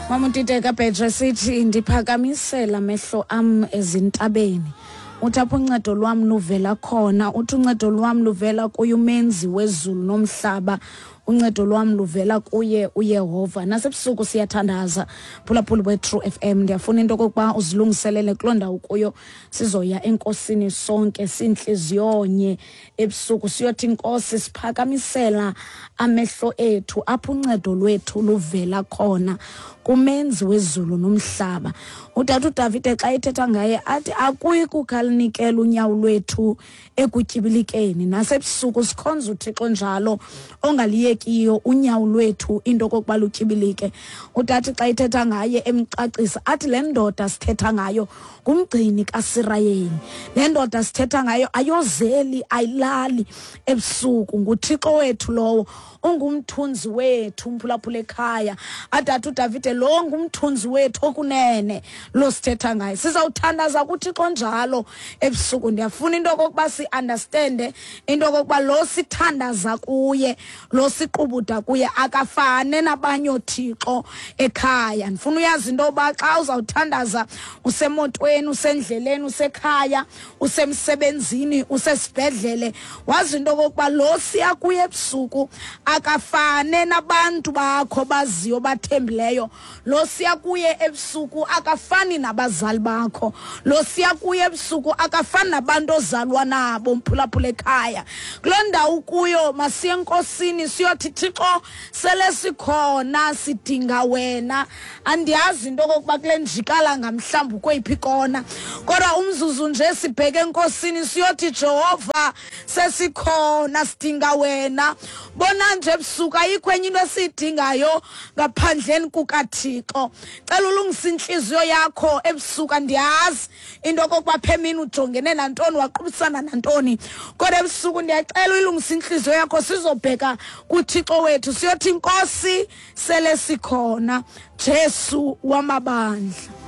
Mama uTiteka Bheje, sithi ndiphakamisela amehlo am ezintabeni. Uthi apho uncedo lwam luvela khona, uthi uncedo lwam luvela kuye umenzi wezulu nomhlaba, uncedo lwam luvela kuye uYehova. Nasebusuku siyathandaza, phulaphuli we-True FM. Ndiyafuna into okokuba uzilungiselele kuloo ndawo kuyo, sizoya enkosini sonke sintliziyonye ebusuku, siyothi inkosi siphakamisela amehlo ethu apho uncedo lwethu luvela khona, kumenzi wezulu nomhlaba. Utata uDavide xa ethetha ngaye athi akuyi kukhalinikela unyawo lwethu ekutyibilikeni. Nasebusuku sikhonza uThixo njalo ongaliyekiyo unyawo lwethu into okokuba lutyibilike. Utathi xa ethetha ngaye emcacisa athi le ndoda sithetha ngayo ngumgcini kaSirayeli, le ndoda sithetha ngayo ayozeli ayilali ebusuku, nguThixo wethu lowo, ungumthunzi wethu. Umphulaphula ekhaya, adatha uDavide lo ngumthunzi wethu okunene lo sithetha ngaye. Sizawuthandaza kuThixo njalo ebusuku. Ndiyafuna into okokuba si-understande into okokuba lo sithandaza kuye, lo siqubuda kuye, akafane nabanye oothixo ekhaya. Ndifuna uyazi into yoba xa uzawuthandaza usemotweni, usendleleni, usekhaya, usemsebenzini, usesibhedlele, wazi into okokuba lo siya kuye ebusuku akafane nabantu bakho baziyo bathembileyo. Lo siya kuye ebusuku akafani nabazali bakho. Lo siya kuye ebusuku akafani nabantu ozalwa nabo. Mphulaphula ekhaya, kuloo ndawo kuyo masiye enkosini siyothi Thixo sele sikhona, sidinga wena. Andiyazi into okokuba kule njikalanga mhlawumbi ukweyiphi ikona, kodwa umzuzu nje sibheke enkosini siyothi Jehova sesikhona, sidinga wena. Bona nje ebusuku ayikho enye into esiyidingayo ngaphandleni kukaThixo. Cela ulungise intliziyo yakho ebusuku. Andiyazi into okokuba phemini ujongene nantoni, waqubisana nantoni, kodwa ebusuku ndiyacela uyilungise intliziyo yakho, sizobheka kuThixo wethu siyothi inkosi sele sikhona, Jesu wamabandla.